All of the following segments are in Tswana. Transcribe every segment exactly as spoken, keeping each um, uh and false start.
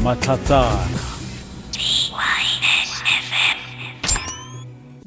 Matlhatsana.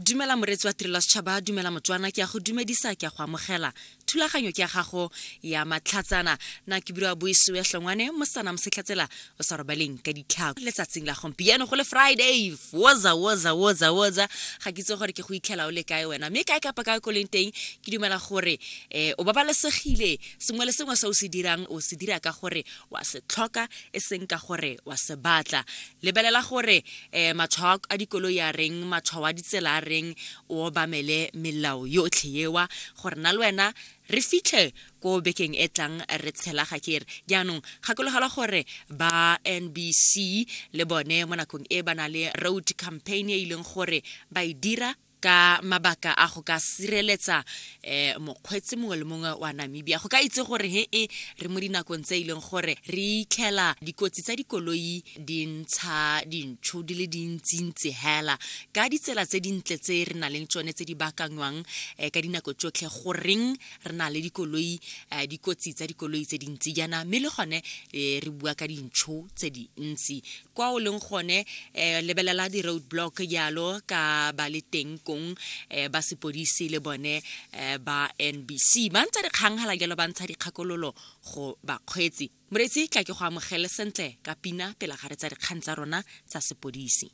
Dumela moreetsi wa Tirelo ya Setšhaba, dumela Motswana, ke a go dumedisa, ke a go amogela. Thulaganyo ke ya gago ya Matlhatsana. Nna ke bua Boisiwe Hlongwane, mosana mosetlhatsela o sa robaleng ka ditlhako. Letsatsing la gompieno go le Friday, woza woza woza woza, ga ke itse gore ke go itlhela o le kae wena, mme kae kapa kae ko leng teng, ke dumela gore um o babalesegile. Sengwe le sengwe se o se dirang o se dira ka gore wa se tlhoka, e seng ka gore wa se batla. Lebelela gore um matshwao a dikoloi a reng, matshwao a ditsela a reng, o obamele melao yotlhe ewa gore na le wena re fitlhe ko bekeng e tlang re tshela. Ga ke re jaanong gakologelwa gore ba N B C le bone mo nakong e ba na le road campaign e e leng gore ba e dira ka mabaka a go ka sireletsa um mokgweetsi mongwe le mongwe wa Namibia, go ka itse gore he e re mo dinakong tse e leng gore re itlhela dikotsi tsa dikoloi di ntsha dintšho di le dintsintsi hela ka ditsela tse dintle tse re nang le tsone tse di baakangwang um ka dinako tsotlhe. Goreng re na le dikoloi um dikotsi tsa dikoloi tse dintsi jaana, mme le gone um re bua ka dintšho tse dintsi kwa o leng gone. um lebelela di-road block jalo ka ba le teng kong eh ba sepodisi le bone eh ba N B C ba ntsha dikgang hala jalo, ba ntsha dikgakololo go bakgweetsi. Moreetsi, tla ke go amogele sentle ka pina pele ga re tsa dikgang tsa rona tsa sepodisi.